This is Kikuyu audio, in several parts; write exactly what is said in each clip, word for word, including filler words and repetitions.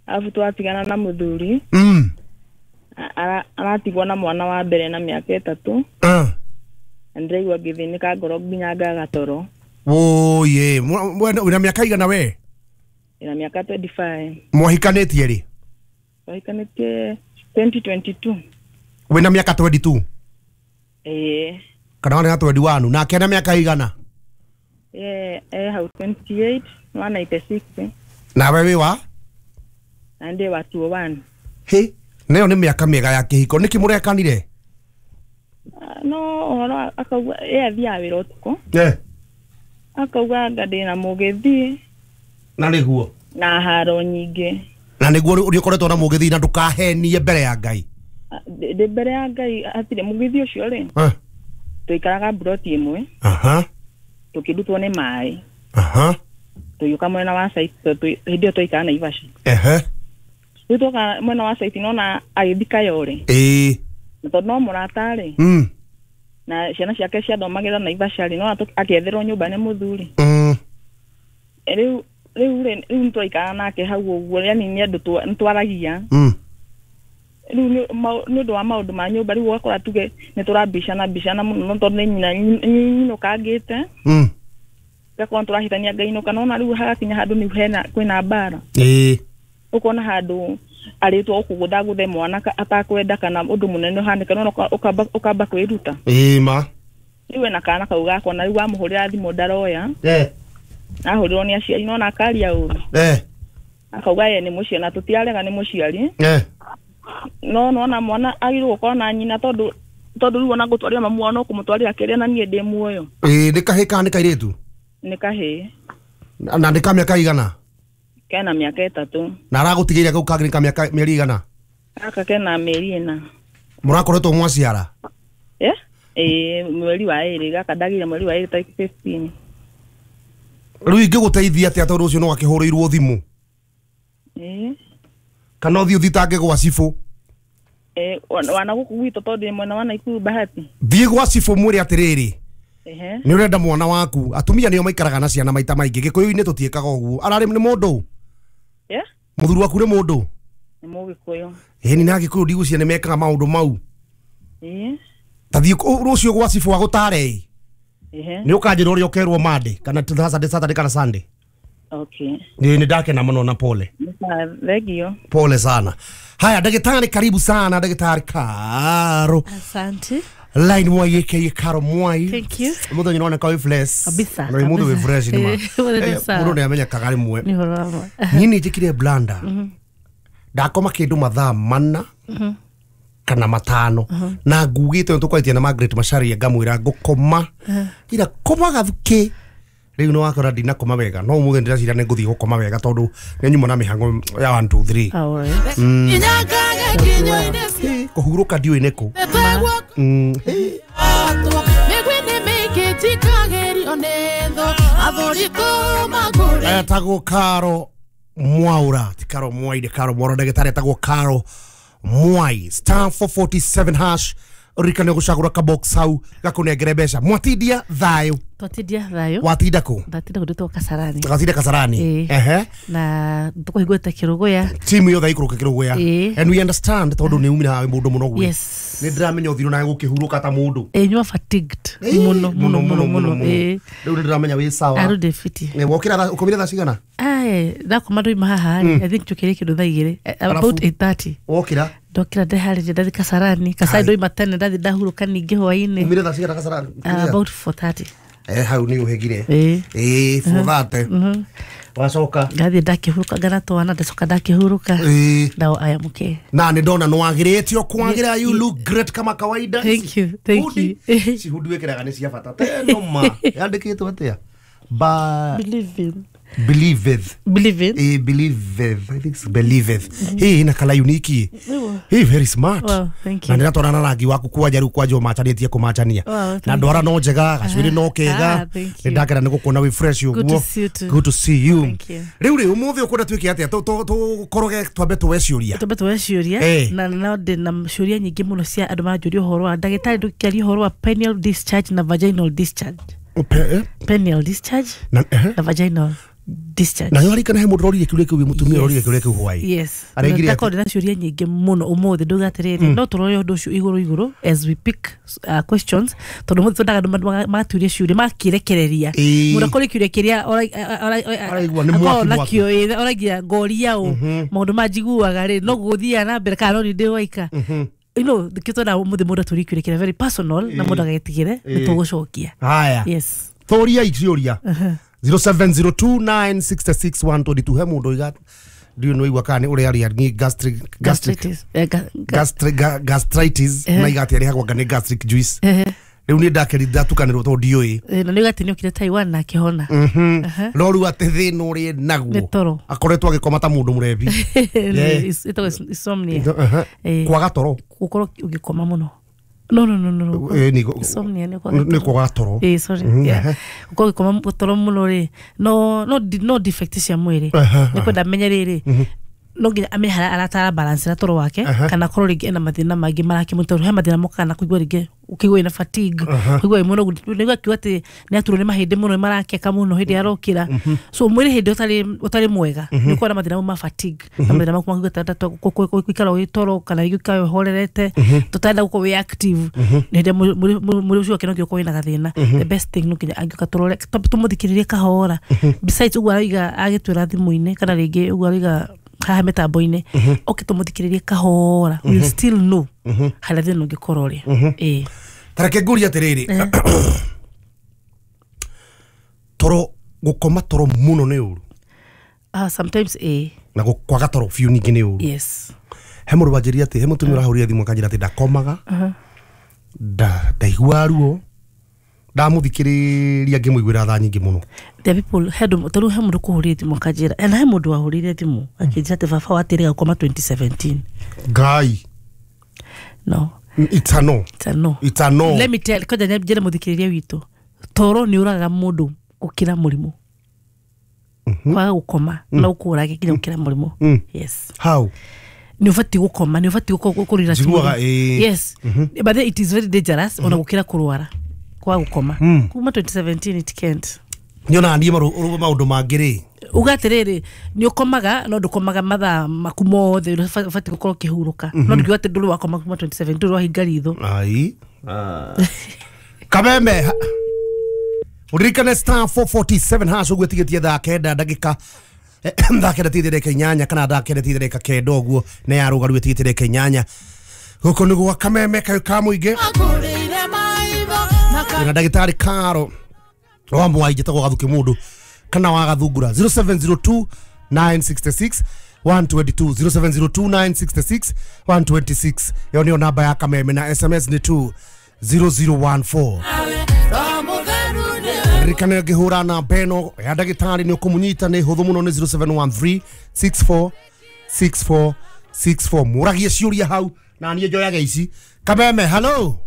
Alafu twatigana na muthuri. Mm. Aratigwo na mwana wa mbere na miaka itatu. Ah. Ndiraigua ngithinika ngoro nginya ngaga toro. Oye, wina miaka igana we? Ina miaka twenty-five. Mwahikanitie ri? Twahikanitie twenty twenty-two. Wina miaka twenty-two? Eh. Kana wana twenty-one na kena miaka igana? Eh, eh hau twenty-eight, one ninety-six. Na wewe wa? Na ndi wa two oh one. He, nayo ni miaka miega ya kihiko niki murekanire? No, uhoro akauga ye athiaga wira utuku. Eh. Akauga anga ndina mugithi. Na niguo. Na haro nyingi. Na niguo uri ukoretwo na mugithi na ndukahenie mbere ya Ngai. Ndi mbere ya Ngai atire mugithi ucio ri. Eh. Tuikaraga broti imwe. Aha. Tukirutwo ni mai. Aha. Tuyuka mwena wa site hindi iyo twaikara Naivasha. Ehe. Riu twoka mwena wa site nona agithika yore. Eh. Na tondu no murata ri. Mm. Na ciana ciake ciathomagira Naivasha ri no akietherwo nyumba ni muthuri. Mm. Riu riu riu nitwaikara nake hau uguo yani ni andu nitwaragia. Mm. Riu ni undu wa maundu ma nyumba riu ugakora tuge ni turabicana bicana muno tondu ni nyina nyinukangite. Mm. Gakorwo turahitania ngainuka nona riu hagakinya handu ni hena kwina mbara. Eh. Ukona handu aritwo ukugutha mwana atakwenda kana undu munene uhanike nona ukamba ukamba kwiruta. Eh ma. Riu na kana kau gakwa na riu wamuhurira thimu ndaroya. Eh. Ahurirwo ni aciari nona akaria uru. Eh. Akauga ye ni muciari na tutiarega ni muciari. Eh. No nona mwana agirwo gukorwo na nyina tondu tondu riu ona ngutwarira mamu wao no kumutwarira kiria na nie ndi muoyo. Eh ni kahĩ kana ni kairitu? Ni kahĩ. Na ni ka miaka igana? Kena miaka itatu. Na aragutigeire kau kangĩ ka miaka mieri igana? Gaka kena mieri ina. Murakoretwo mwaciara? Eh? Eh mweri wa iri gaka ndagire mweri wa iri tariki fifteen. Riu ingĩgũteithia atia tondu ucio no akĩhũrĩirwo thimũ? Eh. Kana ũthiĩ ũthitange gwa cibũ? Eh wana guku gwitũ tondu ndĩ mwena wa Naikuru Bahati. Thiĩ gwa cibũ mwĩre atĩrĩrĩ. Ehe. Nĩ ũrenda mwana waku atumia nĩo maikaraga na ciana maita maingĩ gĩkũyũ-inĩ tũtiĩkaga ũguo ararĩ nĩ mũndũ? Yeah. Mũthuri waku nĩ mũndũ? Nĩ mũgĩkũyũ. Ĩni na gĩkũyũ ndigũcia nĩ mekaga maũndũ mau. Ĩĩ. Ta thiĩ rũciũ gwa cibũ agũtare. Ehe. Nĩ ũkanjĩra ũrĩa ũkerwo Monday kana Saturday Saturday kana Sunday. Okay. Ni ndakena muno na pole. Thank you. Pole sana. Haya daktari karibu sana daktari Karo. Asante. Line Mwai aka Karo Mwai. Thank you. Mundu nyona ka fresh. Kabisa. Na mundu we fresh ni ma. Mundu ni amenya kagari mwe. Ni horama. Nini njikire blanda. Ndakoma kindu mathaa mana. Kana matano. Na ngugite ntukwaitie na Margaret Macharia ngamwira ngukoma. Ira koma gathuki. Riu no wakora ndina koma wega no umuthi ndiraciria ni nguthii gukoma wega tondu ni nyuma na mihango ya one two three. Mm. Kuhuruka ndiũĩ nĩ kũ. Mm. Etagwo Karo Mwaura ti Karo Mwai ni Karo Mwaura ndagĩtarĩ etagwo Karo Mwai star four forty-seven hash ririkane gucagura ka box hau gakunengere mbeca mwatindia thayo. Twatindia thayo. Watinda ku? Ndatinda kundu Kasarani. Gatinda Kasarani. Ehe. Na tukuhingũte Kiruguya. Timu yothe ikũrũke Kiruguya. And we understand tondu ni umira mundu muno gwe. Yes. Ni ndiramenya uthiru na gukihurũka ta mundu. Eh nyua fatigued. Muno muno muno muno. Riu ni ndiramenya wi sawa. Aru de fiti. Eh wokira ukomire thaa cigana? Ai ndakoma ndoima haha. I think tukire kindu thaa igĩrĩ. About eight thirty. Wokira? Ndokira ndeharĩria ndathi Kasarani. Kasarani ndoima tene ndathi ndahurũka ningĩ hwainĩ. Umire thaa cigana Kasarani? About four thirty. Eh hau ni uhegire. Eh. Eh four thirty. Wacoka ngathi ndakihuruka ngana twana ndacoka ndakihuruka. Eh. Now I am okay. Na ni ndona no wagirĩtio kwagira you look great kama kawaida. Thank you. Thank you. Ci hundi wikiraga ni cia bata teno ma. Yandikitwo atia? Ba believe in. Believeth. Believe in. Eh believeth. I think it's believeth. Hey na kala unique. Hey very smart. Wow, thank you. Na ndiratwarana na rangi waku kwanja riu kwanja umachanĩtie kũmachania. Na ndwara no njega gacuĩrĩ no kega. Nĩ ndakena nĩ gũkuona wĩ fresh ũguo. Good to see you too. Good to see you. Thank you. Riu rĩ ũmũthĩ ũkwenda twĩke atĩa tũkoroge twambe tuwe ciũria. Twambe tuwe ciũria na no ndĩ na ciũria nyingĩ mũno cia andũ maranjũria ũhoro wa ndagĩtarĩ ndũkĩaria ũhoro wa penile discharge na vaginal discharge. Pe Penile discharge na, eh? na vaginal. discharge. Na yorikana he mundu rorire kiuria kiu mutumia rorire kiuria kiu hwai. Yes. Ndakorwo ndina ciũria nyingĩ mũno ũmũthĩ ndauga atĩrĩrĩ no tũrore ũndũ ũcio igũrũ igũrũ as we pick uh, questions tondũ mũthĩ twendaga andũ magaturia ciũria makĩrekereria mũndũ akorwo kĩũria kĩrĩa araigua nĩ mwaki mwaki oragia ngoria ũ maũndũ manjiguaga rĩ no gũthiaga na mbere kana no nĩ ndĩ waika. You know, the kitu na mũthĩ mũndũ atũrie kĩũria kĩrĩa very personal na mũndũ agagĩtigĩre nĩ tũgũcokia. Haya. Yes. Tũria ciũria zero seven zero two nine six six one two two he mundu iga ndiũ no igua kana uria aria ni gastric gastric gastric gastritis na igati arihagwo nga ni gastric juice riu ni ndakeri ndatukanirwo tondu ndiũĩ na nĩ gati nĩ okire Taiwan na akĩhona no rĩu atĩ thĩna ũrĩ naguo akoretwo agĩkoma ta mũndũ mũrebi ĩtagwo insomnia kwaga toro gũkorwo ũgĩkoma mũno. No no no no. Eh ni insomnia ni kwa ni kwa toro. Eh sorry. Yeah. Uko koma toro muno ri. No no no defect cia mwiri. Ni kwenda menye riri. No nginya amenye haria aratara balance na toro wake kana korwo ringi ena mathina mangi marakĩmũtoro he mathina mokaga na kũigua ringi ũkĩigua ina fatigue kũigua mũno nĩguo akiuga atĩ nĩ aturwo nĩ mahĩndĩ mũno marakeka mũno hĩndĩ arokĩra so mwĩrĩ hĩndĩ ũtarĩ ũtarĩ mwega nĩ ũkorwo na mathina ma fatigue na mathina ma kũigua ta gũikara ũgĩtoro kana gũikara ũhorerete tũtarenda gũkorwo wĩ active nĩ hĩndĩ mwĩrĩ ũcio wake no nginya ũkorwo wĩna gathĩna. The best thing no nginya angĩũka tũrore tũmũthikĩrĩrie kahora besides ũguo arauga agĩtwĩra thimũ-inĩ kana rĩngĩ ũguo arauga haha mĩtambo-inĩ oke tũmũthikĩrĩrie kahora we'll still know harĩa thĩna ũngĩkorwo ũrĩ. Ĩĩ tareke ngũrie atĩrĩrĩ toro gũkoma toro mũno nĩ ũru? Ah sometimes ĩĩ na kwaga toro biũ ningĩ nĩ ũru. Yes. He mũndũ wanjĩrire atĩ he mũtumia ũrahũrire thimũ akanjĩra atĩ ndakomaga ndaiguaga ruo ndamuthikiriria ngĩmũiguĩra tha nyingĩ mũno. The people had tondũ he mũndũ kũhũrire thimũ akanjĩra na he mũndũ wahũrire thimũ akĩnjĩra atĩ baba watĩrĩga gũkoma twenty seventeen. Ngai. No. It's a no. It's a no. It's a no. Let me tell koja njĩre mũthikĩrĩria witũ toro nĩ ũragaga mũndũ gũkĩra mũrimũ. Kwaga gũkoma no ũkũrage nginya gũkĩra mũrimũ. Yes. How? Ni ũbatiĩ gũkoma nĩ ũbatiĩ kũrira. Yes. But then it is very dangerous ona gũkĩra kũrwara kwa gukoma kuma twenty seventeen it can't. Nyona niĩ maũndũ mangĩ rĩ uga atĩrĩrĩ nĩ ũkomaga no ndũkomaga mathaa maku mothe ũbatiĩ gũkorwo ũkĩhurũka no ndũkiuga atĩ ndũrĩ wakoma kuma twenty seventeen ndũrĩ wahinga ritho. Ai Kameme uririkane star four forty-seven hash ũguo ĩtigĩtie thaa kenda ndagĩka thaa kenda tigĩtie ndagĩka inyanya kana thaa kenda tigĩtie ndagĩka kenda ũguo nĩ ya rũgaru ĩtigĩtie ndagĩka inyanya gũkũ nĩ gwa Kameme kayũ ka mũingĩ na ndagĩtarĩ Karo wa Mwai njĩtagwo Gathuki mũndũ kana wa Gathungura zero seven zero two nine six six one two two zero seven zero two nine six six one two six ĩyo nĩyo namba ya Kameme na S M S nĩ two zero zero one four. Ririkana ngĩhũra namba ĩno ya ndagĩtarĩ nĩ ũkũmũnyita nĩ hũthũ mũno nĩ zero seven one three six four six four six four mũragie ciũria hau na niĩ njoyage ici. Kameme hello.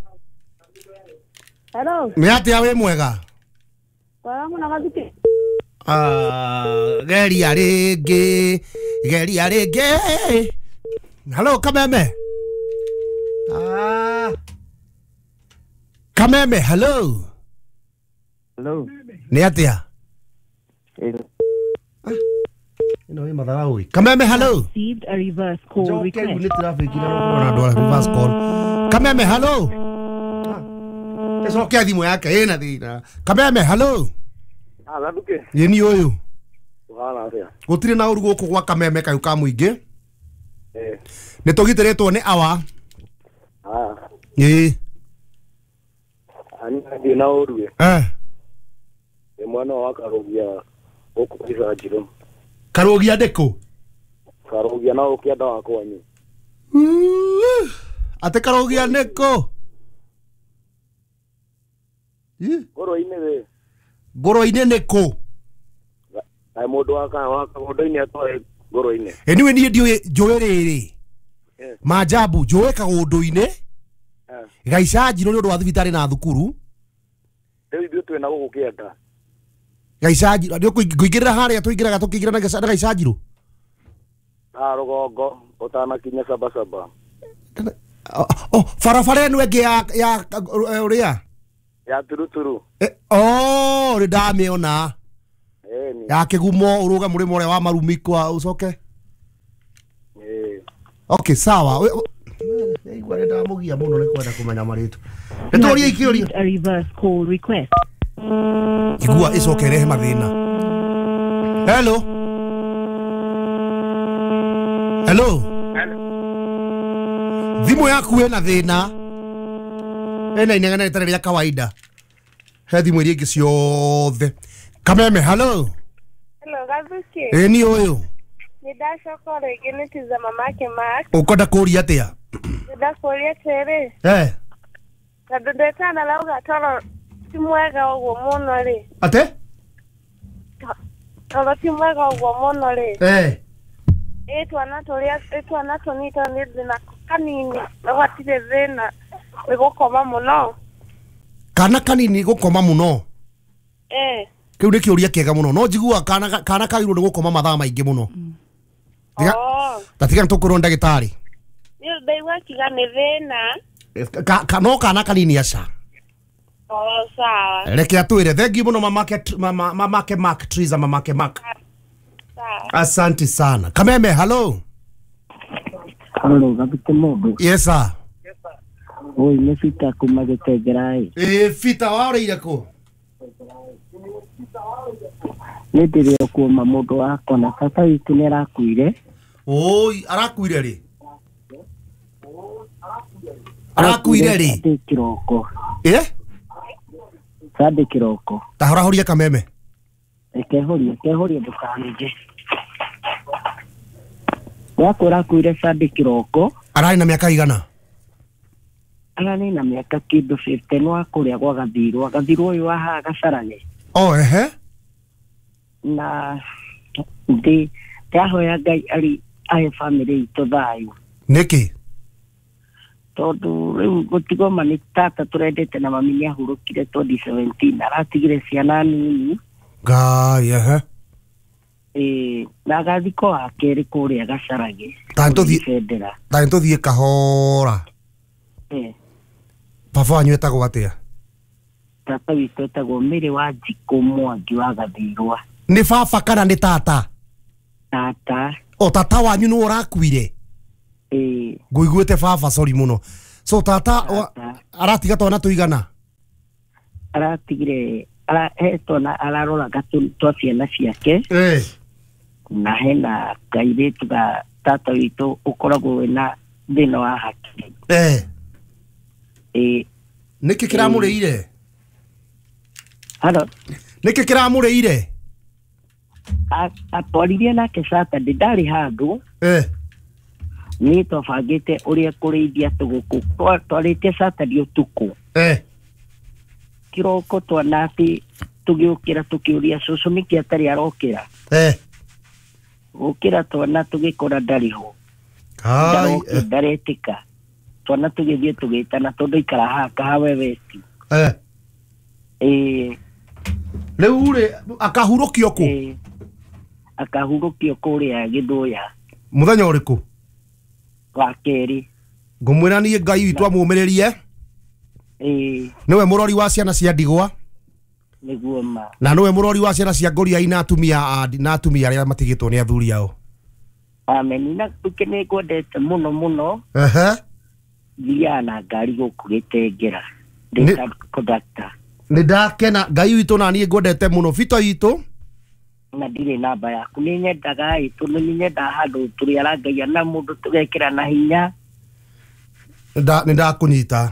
Hello. Nĩ atĩa wĩ mwega? Kwa mũno Gathuki. Ah, geria rĩngĩ, geria rĩngĩ. Hello Kameme. Ah. Kameme hello. Hello. Nĩ atĩa? Ĩno ĩ matharau ĩ. Kameme hello. Received a reverse call request. Njoke nĩ traffic na andũ a reverse call. Kameme hello. Ecokia thimũ yake ĩna thĩna. Kameme hello. Ah Gathuki. Ĩ ni ũyũ. Ũhana atĩa? Gũtirĩ na ũru gũkũ gwa Kameme kayũ ka mũingĩ. Eh. Nĩ tũgitĩrĩtwo nĩ awa. Ah. Ĩ. Ani ndi na ũru ĩ. Eh. Nĩ mwana wa Karũgia gũkũ Gĩcanjirũ. Karũgia ndĩkũ? Karũgia na ũkĩenda wa kwanyu. Atĩ Karũgia nĩkũ? Ngũrũ-inĩ wĩ. Ngũrũ-inĩ nĩkũ? Kaĩ mũndũ wa kagũnda-inĩ atoĩ ngũrũ-inĩ. Anyway niĩ ndiũĩ njũĩ rĩrĩ Maajabu njũĩ kagũndũ-inĩ Gaicanjirũ nĩ ũndũ wa thibitarĩ na thukuru. Rĩu ithuĩ twĩna gũkũ kĩanda. Gaicanjirũ nĩ ũkũingĩrĩra harĩa tũingĩraga tũkĩingĩra na Gaicanjirũ. Ah rũgongo ũtanakinya Sabasaba. Oh barabara ĩno ĩngĩ ya ya ũrĩa ya turuturu. Eh, oh, nĩ ndamĩona. Ĩni. Ya kĩgumo ũrũge mũrĩmo ũrĩa wa marumi kwa ũcoke. Ĩĩ. Okay, sawa. We- we- Igua nĩ ndamũgia mũno nĩ kwenda kũmenya marĩtwa. Nĩ tũrie ikĩũria. A reverse call request. Igua ĩcoke ĩrehe mathĩna. Hello. Hello. Thimũ yaku ĩna thĩna. Ĩna inegene rĩtarĩ rĩa kawaida. He thimũ iria ingĩ ciothe. Kameme, hello. Hello, Gathuki. Ĩ ni ũyũ. Nĩ ndacoka rĩngĩ nĩ tiza mamake Mark. Ũkwenda kũria atĩa? Ndakũria atĩrĩ, Eh, tondũ ndetana rauga toro ti mwega ũguo mũno rĩ. ate? Toro ti mwega ũguo mũno rĩ. Eh. Ĩ twana tũrĩa ĩ twana tũnini tondũ nĩ ndĩ nako kanini na gatirĩ thĩna nĩ gũkoma mũno. Kana kanini gũkoma mũno. Eh. Kĩu nĩ kĩũria kĩega mũno. No njiguaga kana kana kagĩrĩirwo nĩ gũkoma mathaa maingĩ mũno. Tiga Oh. ta tiga nĩtũkwĩrwo nĩ ndagĩtarĩ. Nĩ ndaigua akiuga nĩ thĩna. Ka, ka, no kana kanini aca. Oh, sawa. Reke atwĩre. Thengiũ mũno mamake mama, mamake Mark Triza mamake Mark. Sawa. Asante sana. Kameme, hello. Halo, Gathuki mũndũ. Yes sir. Oi, nĩ Peter kuma Gĩtengera ĩ. Ĩ Peter waũrĩire kũ? Nĩ ndĩrĩ o kuoma mũndũ wakwa na baba witũ nĩ arakuire. Oi, arakuire rĩ? Arakuire rĩ? Sunday kĩroko. Eh? Sunday kĩroko. Ta horahoria Kameme. Reke horie, reke horie ndũkanige. Wakwa arakuire Sunday kĩroko. Ararĩ na mĩaka igana? Ararĩ na mĩaka kĩndũ fifty nĩ wa kũrĩa gwa Gathirwa. Gathirwa ũyũ wa haha Gacarane. Oh, ehe. Na ndĩ ndahoya Ngai arĩ ahe bamĩrĩ itũ thayũ. Nĩkĩ? Tondũ rĩu gũtigoma nĩ tata tũrendete na mami nĩ ahurũkire twenty seventeen aratigire ciana nini. Ngai, ehe. Ĩĩ, na agathikwo wa kerĩ kũrĩa Gacarage. Ta nĩtũthiĩ Bendera. ta nĩtũthiĩ kahora. Ĩĩ. Baba wanyu etagwo atĩa? Tata witũ etagwo Mĩrĩ wa Njikũ Mwangi wa Gathirwa. Nĩ baba kana nĩ tata? Tata. O tata wanyu nĩwe ũrakuire? Ĩĩ. Ngũiguĩte baba, sorry mũno. So tata Tata. aratiga twana tũigana? Aratigire ara he twana araroraga twa ciana ciake. Eh. Na hena kairĩtu ga tata witũ ũkoragwo wĩna thĩna wa hakiri. Eh. Ĩĩ. Nĩkĩ kĩramũrĩire? Halo. Nĩkĩ kĩramũrĩire? Atwaririe nake Saturday ndarĩ handũ. Eh. Nĩ twabangĩte ũrĩa kũrĩithia tũgũkũ. Twarĩtie Saturday ũtukũ. Eh. Kĩroko twana atĩ tũgĩũkĩra tũkĩũria cũcũ nĩkĩ atarĩ arokĩra. Eh. Gũkĩra twana tũgĩkora ndarĩ ho. Ai. Ndaretĩka. Twana tũgĩthiĩ tũgĩtana tondũ aikara haha Kahawa West. Eh. Ĩĩ. Rĩu rĩ akahurũkio kũ? Ĩĩ. Akahurũkio kũrĩa Gĩthũya. Mũthenya ũrĩkũ? Wa kerĩ. Ngũmwĩra niĩ Ngai witũ amũmĩrĩrie. Ĩĩ. Nĩwe mũrori wa ciana cia ndigwa. Nĩguo ma. Na nĩwe mũrori wa ciana cia ngũriai na atumia na atumia arĩa matigĩtwo nĩ athuri ao. Amen. Na nĩ ngwendete mũno mũno. Ehe. Thiaga na ngari gũkũ Gĩtengera. Ndĩ ta conductor. Nĩ ndakena Ngai witũ na niĩ ngwendete mũno Bito witũ. Na ndirĩ namba yaku nĩ nyendaga ĩ tondũ nĩ nyendaga handũ tũrĩarangagia na mũndũ tũgekĩra na hinya. Nĩ ndakũnyita.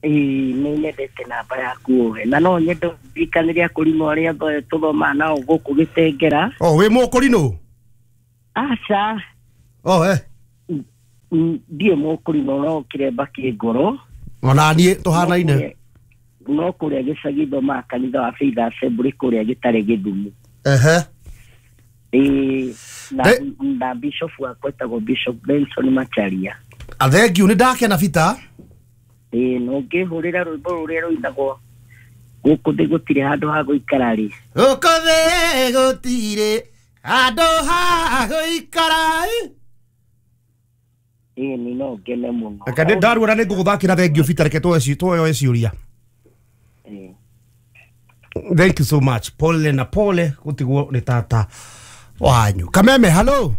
Ĩĩ nĩ nyendete namba yaku ũhe na no nyende ũndirikanĩre akũrinũ arĩa othe tũthomaga nao gũkũ Gĩtengera. Oh, wĩ mũkũrinũ? Aca. Oh, eh. Ndiĩ mũkũrinũ no kĩremba kĩ ngoro. Ona niĩ tũhanaine. No kũrĩa gĩcagi thomaga kanitha wa Faith Assembly kũrĩa gĩtarĩ Gĩthumo. Ehe. Ĩĩ na na bishop wakwa etagwo Bishop Benson Macharia. Thengiũ nĩ ndakena Bita. Ĩĩ no ngĩhũrĩra rwĩmbo rũrĩa rũinagwo gũkũ thĩ gũtirĩ handũ ha gũikara rĩ. Gũkũ thĩ gũtirĩ handũ ha gũikara. Ĩĩ nĩ no ngene mũno. Reke nĩ ndaruo na nĩ ngũgũthakĩra. Thengiũ Bita, reke tuoe tuoe ciũria. Ĩĩ. Thank you so much. Pole na pole gutigwo nĩ tata wanyu. Kameme, hello.